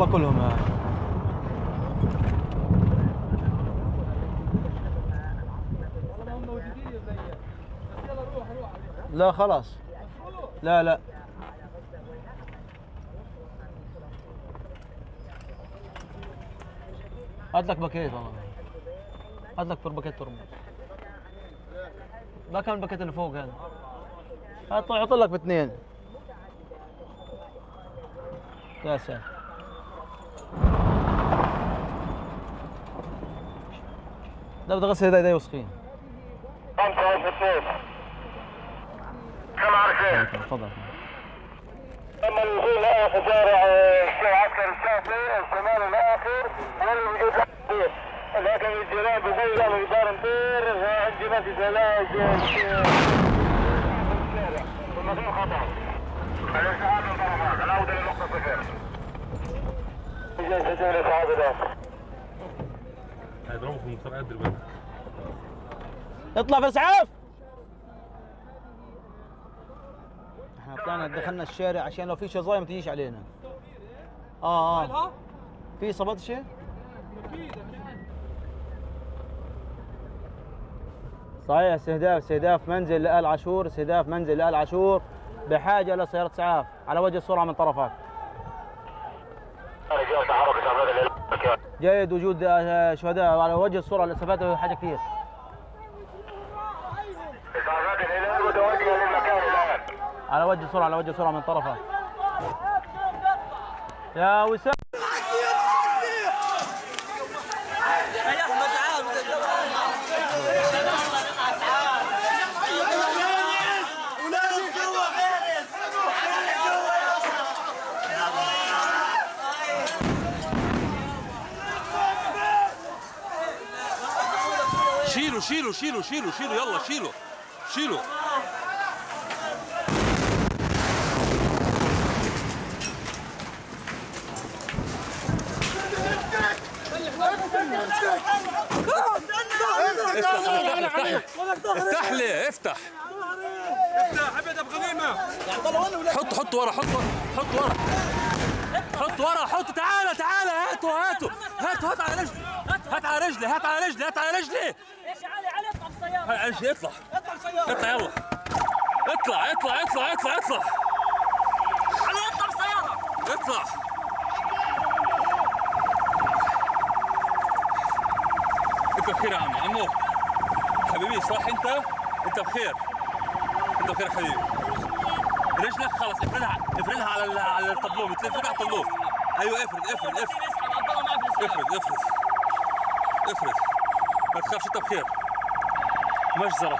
هم كلهم هاي. لا خلاص. لا لا هات لك باكيت والله. هات لك باكيت ترمس. ما كان الباكيت اللي فوق هذا. هات حط لك باثنين. يا ساتر. لا بدي اغسل ايدي وسخين. 5 كم عارفين؟ تفضل. اما الوصول لاخر شارع العسكر الشافعي الشمال الاخر واللي موجود الحديث لكن الجيران بيقول له يدار مدير عندي ما في زلاج والمكان خطا. الاسعاف من طرفات العوده لنقطه 0. جاي سجل الاسعاف الاخر. هيضربوا في المختار قد البلد. اطلع في اسعاف. احنا طلعنا دخلنا الشارع عشان لو في شظايا ما تجيش علينا. في صبت شيء؟ صحيح. استهداف منزل لآل عاشور، استهداف منزل لآل عاشور بحاجة لسيارة اسعاف على وجه السرعة من طرفات. جيد وجود شهداء على وجه السرعة. الإسعافات حاجة كثير. على وجه السرعة من طرفها. يا وسام يا احمد شيلوا يلا شيلوا. افتح لي افتح ابدا بغنيمه. حط ورا تعال هاتوا هات على رجلي ايش يا علي اطلع بالسيارة. على رجلي اطلع يلا اطلع علي اطلع بالسيارة اطلع. انت بخير يا عمو حبيبي صح انت بخير حبيبي. رجلك خلص افردها على الطبلوه بتلف على الطبلوه. ايوه افرد ما تخافش انت بخير. مجزرة